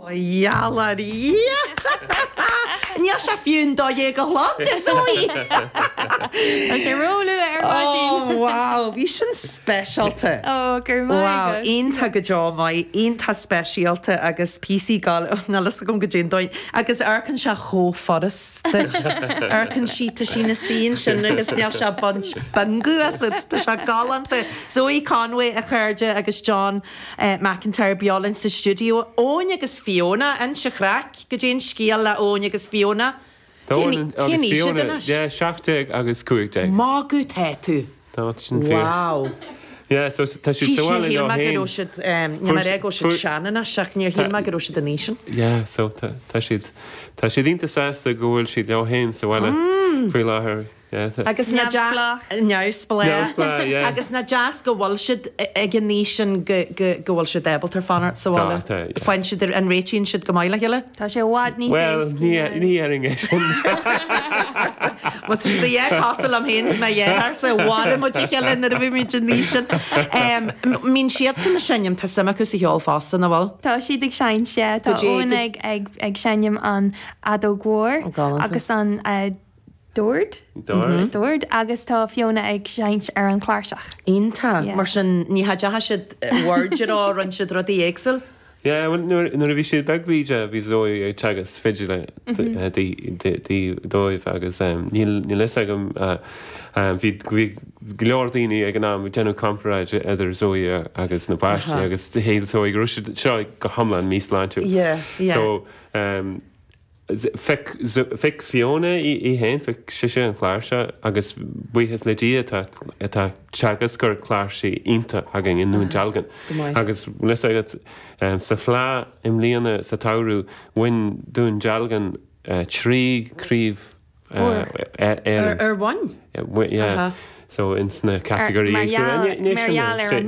Ó gheall ar Dhia! Níl sé fiú an 12 a chlog, a Zoe! Tá sé róluath ar maidin. Ó wow, bhí sin speisialta. Ó, go raibh maith Wow, agat. iontach go deo maith, iontach speisialta agus píosaí gal, níl fhios agam goidé an dóigh, agus amharcann sé chomh furast duit. Amharcann sí, tá sí ina suí ansin agus níl sé ag baint bingo asat, tá sé galánta. Zoe Conway, a chairde, agus John McIntyre beo linn sa stiúideo. Eoin agus Fiona, inis an chraic, goidé an scéal le Eoin agus Fiona? Cén Cén agus aois iad Fiona, anois? yeah, 17 agus 15. Magadh tá tú. Tá sin fíor. Wow. Yeah, so tá siad sa bhaile Shíl leo mé go féin. raibh siad, níl mé ag rá go raibh siad Fuair- sean anois ach níor shíl mé go raibh siad an aois sin. Yeah, so tá tá siad tá siad iontach sásta go bhfuil siad leo féin sa bhaile faoi láthair. Agus nach Neamhspleách. Neamhspleách. Neamhspleách, yeah. Agus nach deas go bhfuil siad ag an aois sin go, go, go bhfuil siad ábalta fanacht sa bhaile. Tá, tá, yeah. Faigheann siad, an réitíonn siad go maith le chéile? Tá sé i bhfad níos Bhuel, éascaí ní, ná. ní dhéarfainn é sin. Bhuel, tá siad a dhath cosúil liom féin is mo dheartháir so mharaigh muid a chéile nuair a bhí muid an aois sin. Mbíonn siadsan ag seinm, tá suim acu sa cheol fosta, nach bhfuil? Tá siad ag seinnt, yeah. Tá Go dtí, Eoin go ag, ag, ag seinm an fheadóg mhór Ó, galánta. agus an eh, Dord. Dord. Dord agus tá Fiona ag seinnt ar an chláirseach. Iontach. Yeah. Mar sin ní dheachaigh siad bhord ar ó rinne siad rudaí éagsúil? Yeah, bhuel nuair nuair a bhí siad beag bhí bhí Zoe ag teagasc fidil di dóibh agus níl níl fhios agam bhí bhí go leor daoine ag an am ag déanamh comparáid idir Zoe agus na páistí agus shíl Zoe go raibh siad seo go hiomlán míshláintiúil. Yeah, yeah. So Phioc, phioc Fiona í féin, phioc sise an chláirseach agus buíochas le Dia tá, tá teagascóir cláirsí iontach againn i nDún Dealgan. Agus bhfuil fhios agat, sa Fleadh i mbliana sa tsamhradh bhain Dún Dealgan 3 craobh Éireann. Ar bhain? Yeah. So ins na catagóirí Mar éagsúla. gheall ar an múinteoir.